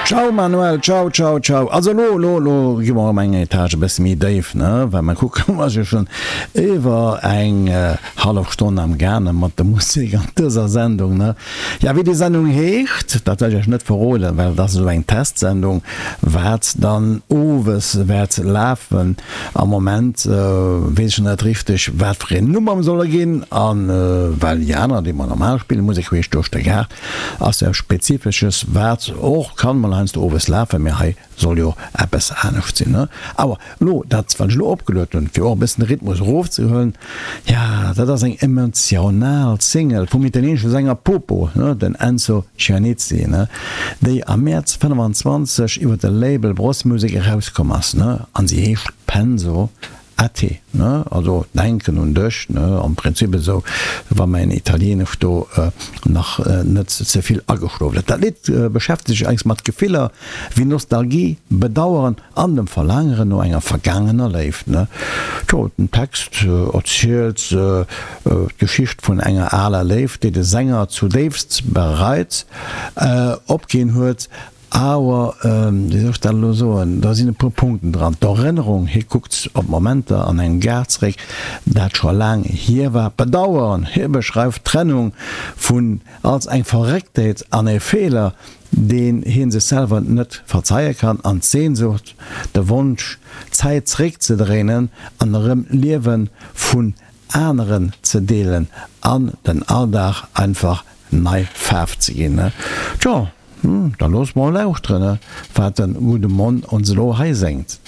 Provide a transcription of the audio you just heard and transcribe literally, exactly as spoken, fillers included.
Ciao Manuel, ciao ciao ciao. Also elo elo elo gi mer erëm eng Etage e bësse méi déif, ne, well mer kucken, mer si jo schonn iwwer eng hallef Stonn am gaange mat der Musek an dëser Sendung, ne. Ja, wéi déi Sendung heescht, dat well ech iech net verroden, well et ass esou eng Testsendung, wat dann owes wäert lafen. Am Moment weess ech nach net richteg, wat fir een Numm mer solle ginn, a well déi aner, déi mer normal spillen, Musek queesch duerch de Gaart, ass jo eppes Spezifesches, wat och kann mol heiansdo owes lafen, mee hei soll jo eppes anescht sinn. Awer elo dat, wat ech elo opgeluet hunn, fir och e bëssen de Rhythmus erofzehuelen, jo, dat ass eng emotional Single vum italieenesche Sänger Popo, den Enzo Giannizzi, déi am Mäerz fënnefan-zwanzeg iwwer de Label Bros Music erauskomm ass, an si heescht Penso a te, ne, also denken un dech, ne, am Prinzip esou, wa mäin Italieenesch do nach net ze vill ageschlof huet. Dat Lidd beschäftegt sech eigentlech mat Gefiller wéi Nostalgie, Bedaueren an dem Verlaangeren no enger vergaangener Léift, ne. Tjo, den Text erzielt d'Geschicht vun enger aler Léift, déi de Sänger zudéifst bereit opginn huet. Awer, wéi soll ech dat elo soen, do sinn e puer Punkten dran. D'Erënnerung, hie kuckt op Momenter an engem Gaart zeréck, dat scho laang hier war. D'Bedauern, hie beschreift d'Trennung vun als eng Verrécktheet an e Feeler, deen hie sech selwer net verzeie kann. An d'Sehnsucht, de Wonsch, d'Zäit zeréckzedréinen an erëm Liewe vun aneren ze deelen an den Alldag einfach nei Faarf ze ginn. Tjo, da looss mol lauschteren, wat de gudde Monn ons elo hei séngt.